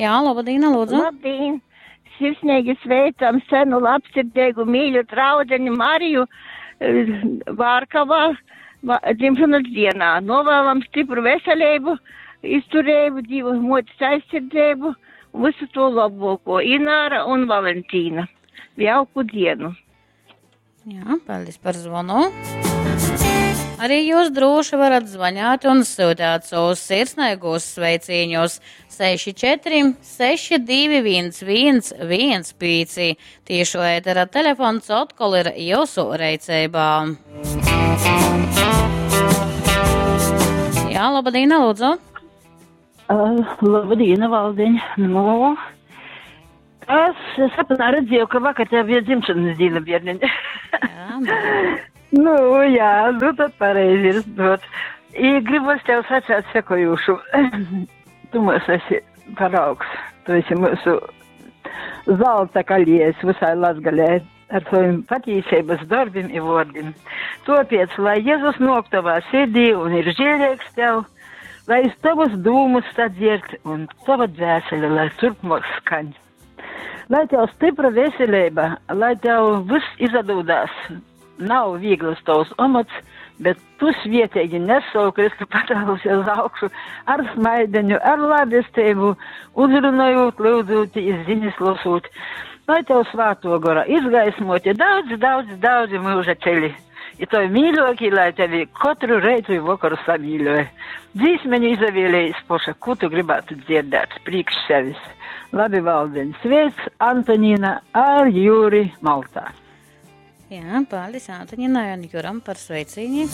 Jā, labdien, lūdzu. Labdien! Sirsnīgi sveicam senu labsirdīgu mīļu draudzeni Mariju eh, Vārkavā dzimšanas dienā. Novēlam stipru veselību, izturību, Dievu motes aizsardzību un visu to labāko. Ināra un Valentīna. Jauku dienu! Jā, paldies par zvanu. Arī jūs droši varat zvanīt un sūtīt savus sirsnīgos sveicienus 64 621 115. Tiešo ētera telefons atkal ir jūsu reicībā. Jā, labdien, lūdzu. Uh, labdien, Valdiņ. Nu, es sapnā redzēju, ka vakar tev bija dzimšanas diena, bērniņ. Jā, nu, jā, nu tad pareizi ir. Dot. I gribos tev sacēt sekojušu. tu mums esi paraugs. Tu esi mūsu zelta kalējs visai Latgalē ar saviem patīsības darbiem i vārdiem. Tāpēc, lai Jēzus nāk tavā sirdī un ir žēlīgs tev, lai es tavus dūmus sadzierd un tava dvēsele, lai turpmāk skaņ. Lai tev stipra veselība, lai tev viss izdodās. Nav viegls tavs amats, bet tu svietīgi nes savu Kristu patālus uz augšu ar smaideņu, ar labestību, uzrunājot, lūdzot, ziņas lasot. Lai tev svāto gora izgaismoti daudz, daudz, daudz mūža ceļi. I tevi mīļokie, lai tevi katru reitu un vakaru samīļoja. Dzīsmeņu izavēlējis poša, ko tu gribētu dzirdēt priekš sevis. Labi, Valdiņ, sveic Antonīna ar Jūri Maltā. Jā, paldies Antoņinai un Juram par sveicieni.